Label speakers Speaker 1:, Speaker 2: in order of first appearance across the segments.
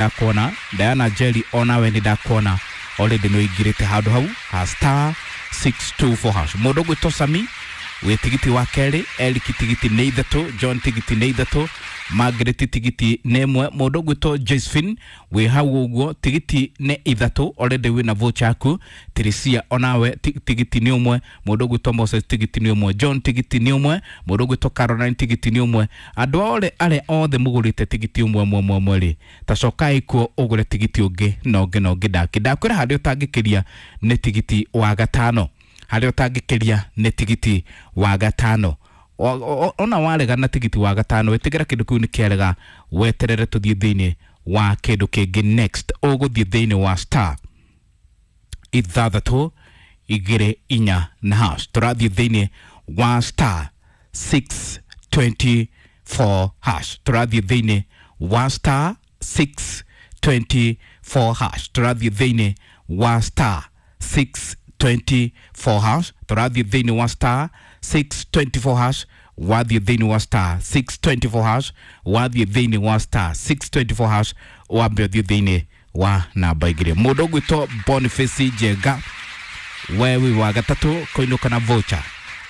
Speaker 1: Ndakuona Diana Jerry onawe nĩ ndakuona already nĩ ũingĩrĩte handũ hau ha star 624 hash. Mũndũ ũgwĩtwo Sami wĩ tigiti wa kerĩ, Eric tigiti nĩ ithatũ, John tigiti nĩ ithatũ, Margaret tigiti nĩ ĩmwe, mũndũ ũgwĩtwo Josephine wĩ hau ũguo tigiti nĩ ithatũ already wĩna voucher yaku. Tirisia onawe tigiti nĩ ũmwe, mũndũ ũgwĩtwo Moses tigiti nĩ ũmwe, John tigiti nĩ ũmwe, mũndũ ũgwĩtwo Caroline tigiti nĩ ũmwe. Andũ othe arĩa othe mũgũrĩte tigiti ũmwe ũmwe ũmwe ũmwe rĩ, ta cokai kuo ũgũre tigiti ũngĩ na ũngĩ na ũngĩ. Ndakwĩra harĩa ũtangĩkĩria nĩ tigiti wa gatano, harĩa ũtangĩkĩria nĩ tigiti wa gatano. Ona warega na tigiti wa gatano, ĩtĩkĩra kĩndũ kĩu nĩ kĩarega, weterere tũthiĩ thĩinĩ wa kĩndũ kĩngĩ next. Ũgũthiĩ thĩinĩ wa star ithathatũ igĩrĩ inya na hash. Tũrathiĩ thĩinĩ wa star 624 hash. Tũrathiĩ thĩinĩ wa star 624 hash. Tũrathiĩ thĩinĩ wa star 624 hash. Tũrathiĩ thĩinĩ wa star 624 hash. Wathiĩ thĩinĩ wa star 624 hash, wathiĩ thĩinĩ wa star 624 hash, wambe ũthiĩ thĩinĩ wa namba igĩrĩ. Mũndũ ũgwĩtwo Boniface Njenga, we wĩ wa gatatũ kũinũka na voucher,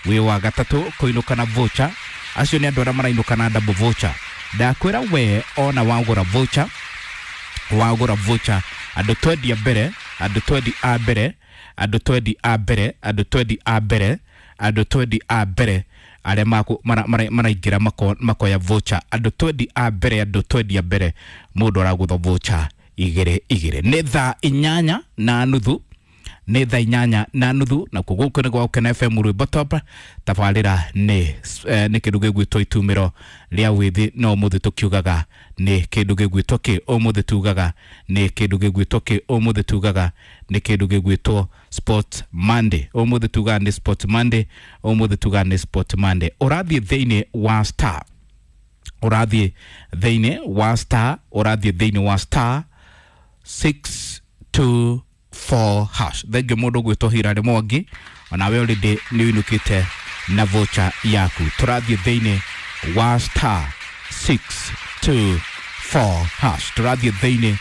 Speaker 1: wĩ wa gatatũ kũinũka na voucher. Acio nĩ andũ arĩa marainũka na double voucher. Ndakwĩra we ona wagũra voucher, wagũra voucher, andũ twendi a mbere, andũ twendi a mbere, andũ twendi a mbere, andũ twendi a mbere, andũ twendi a mbere arĩa maraingĩra makoya voucher, andũ twendi a mbere, andũ twendi a mbere, mũndũ aragũthwo voucher igĩrĩ igĩrĩ. Nĩ thaa inyanya na nuthu, nĩ thaa inyanya na nuthu, na kuo gũkũ nĩ gwa Gũkena FM rwĩmbo top. Tabarĩra nĩ nĩ kĩndũ gĩgwĩtwo itumĩro rĩa wĩthĩ, no ũmũthĩ tũkiugaga nĩ kĩndũ gĩgwĩtwo kĩ, ũmũthĩ tugaga nĩ kĩndũ gĩgwĩtwo kĩ, ũmũthĩ tugaga nĩ kĩndũ gĩgwĩtwo Sport Monday, ũmũthĩ tugaga nĩ Sport Monday, ũmũthĩ tugaga nĩ Sport Monday. Ũrathiĩ thĩinĩ wa star, ũrathiĩ thĩinĩ wa star, ũrathiĩ thĩinĩ wa star 624 hash. Thengiũ mũndũ ũgwĩtwo Hilary Mwangi, onawe already nĩ ũinũkĩte na voucher yaku. Tũrathiĩ thĩinĩ wa star 624 hash. Tũrathiĩ thĩinĩ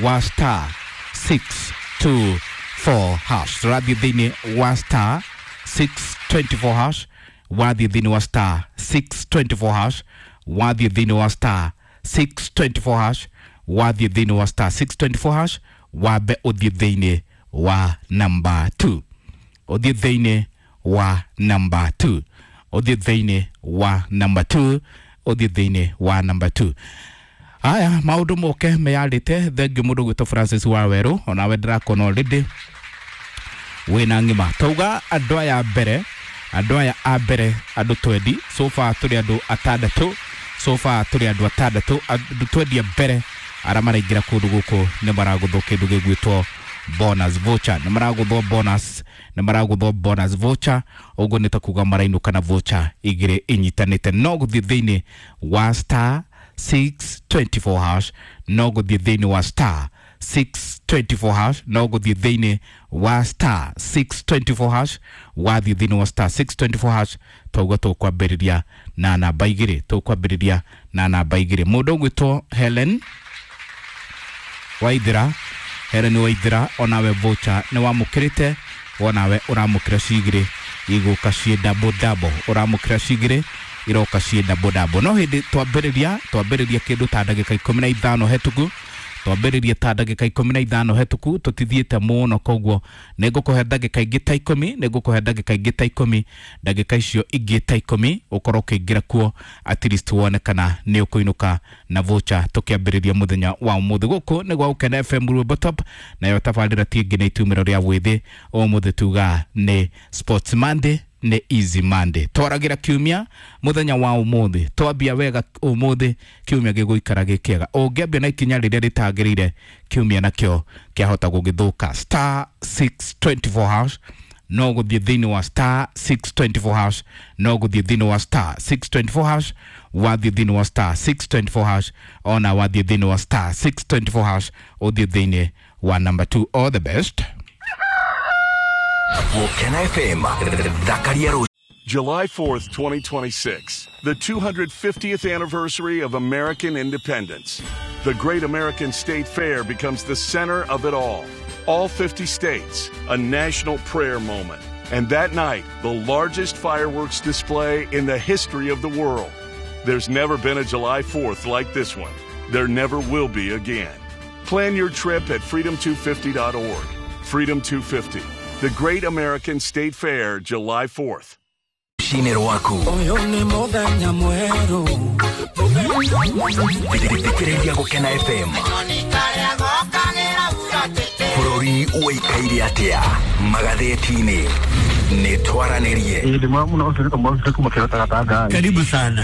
Speaker 1: wa star 624 hash. Tũrathiĩ thĩinĩ wa star 624 hash. Wathiĩ thĩinĩ wa star 624 hash, wathiĩ thĩinĩ wa star 624 hash, wathiĩ thĩinĩ wa star 624 hash, wambe ũthiĩ thĩinĩ wa number 2, ũthiĩ thĩinĩ wa number 2, ũthiĩ thĩinĩ wa number 2, ũthiĩ thĩinĩ wa number 2. Aya maũndũ moke meyarĩte. Thengiũ mũndũ ũgwĩtwo Francis Wawerũ, onawe ndĩrakona already wĩna ng'ima. Tauga andũ aya mbere, andũ aya a mbere, andũ twendi so far tũrĩ andũ atandatũ, so far tũrĩ andũ atandatũ, andũ twendi a mbere arĩa maraingĩra kũndũ gũkũ nĩ maragũthwo kĩndũ gĩgwĩtwo bonus voucher, nĩ maragũthwo bonus, nĩ maragũthwo bonus voucher. Ũguo nĩ ta kuga marainũka na voucher igĩrĩ inyitanĩte. No gũthiĩ thĩinĩ wa star 624 hash, no gũthiĩ thĩinĩ wa star 624 hash, no gũthiĩ thĩinĩ wa star 624 hash. Wathiĩ thĩinĩ wa star 624 hash, tauga tũkwambĩrĩria na namba igĩrĩ, tũkwambĩrĩria na namba igĩrĩ. Mũndũ ũgwĩtwo Helen Waithera, Helen Waithera, onawe voucher nĩ wamũkĩrĩte, onawe ũramũkĩra cigĩrĩ igũka ciĩ double double, ũramũkĩra cigĩrĩ iroka ciĩ double double. No hĩndĩ twambĩrĩria kĩndũ ta ndagĩka 15 hetũku, twambĩrĩria ta ndagĩka 15 hetũku, tũtithiĩte mũno, koguo nĩ ngũkũhe ndagĩka ingĩ ta ikũmi, nĩ ngũkũhe ndagĩka ingĩ ta ikũmi, ndagĩka icio ingĩ ta ikũmi ũkorwo ũkĩingĩra kuo at least wone kana nĩ ũkũinũka na voucher tũkĩambĩrĩria mũthenya wa ũmũthĩ. Gũkũ nĩ gwa Gũkena FM rwĩmbo top, nayo tabarĩra ti ĩngĩ nĩ itumĩro rĩa wĩthĩ. Ũmũthĩ tuga nĩ Sports Monday, nĩ Easy Monday. Twaragĩra kiumia mũthenya wa ũmũthĩ, twambia wega ũmũthĩ, kiumia gĩgũikara gĩ kĩega. Ũngĩambia na ikinya rĩrĩa rĩtagĩrĩire, kiumia nakĩo kĩahota gũgĩthũka. Star 624 hash, no gũthiĩ thĩinĩ wa star 624 hash, no gũthiĩ thĩinĩ wa star 624 hash. Wathiĩ thĩinĩ wa star 624 hash, ona wathiĩ thĩinĩ wa star 624 hash, ũthiĩ thĩinĩ wa number 2. All the best.
Speaker 2: Gũkena FM, thakaria. July 4th, 2026, the 250th anniversary of American independence. The Great American State Fair becomes the center of it all. All 50 states, a national prayer moment. And that night, the largest fireworks display in the history of the world. There's never been a July 4th like this one. There never will be again. Plan your trip at freedom250.org. Freedom 250, the Great American State Fair, July 4th.
Speaker 3: Rũcinĩ rwaku
Speaker 4: Ũyũ nĩ mũthenya mwerũ.
Speaker 3: Thikĩrĩria Gũkena FM. Bũrũri ũikaire atĩa magathĩti-inĩ? Nĩ twaranĩrie.
Speaker 5: Karibu sana.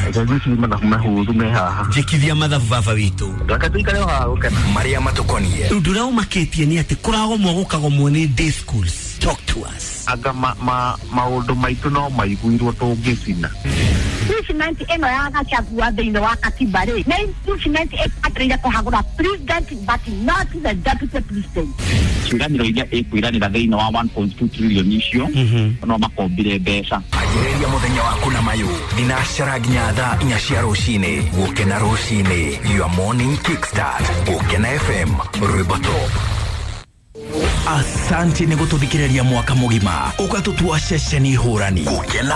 Speaker 5: Njĩkithia mathabu baba witũ.
Speaker 3: Marĩa matũkonie.
Speaker 5: Ũndũ ũrĩa ũmakĩtie nĩ atĩ kũragomwo gũkagomwo nĩ day schools. Talk to us.
Speaker 6: Anga maũndũ maitũ no maiguirwo tũngĩcina.
Speaker 7: Impeachment ĩno ya Gachagua thĩinĩ wa katiba rĩ, nĩ impeachment ĩbataire kũhagũra president but not the deputy president.
Speaker 6: Ciĩranĩro iria ĩkwĩranĩra thĩinĩ wa 1.2 trillion icio no makombire mbeca.
Speaker 3: Anjĩrĩria mũthenya waku na mayũ thinacara nginya thaa 4 cia rũcinĩ. Gũkena rũcinĩ, your morning kickstart. Gũkena FM, rwĩmbo top. Asante nĩ gũtũthikĩrĩria mwaka mũgima ũgatũtua ceceni hũrani. Gũkena.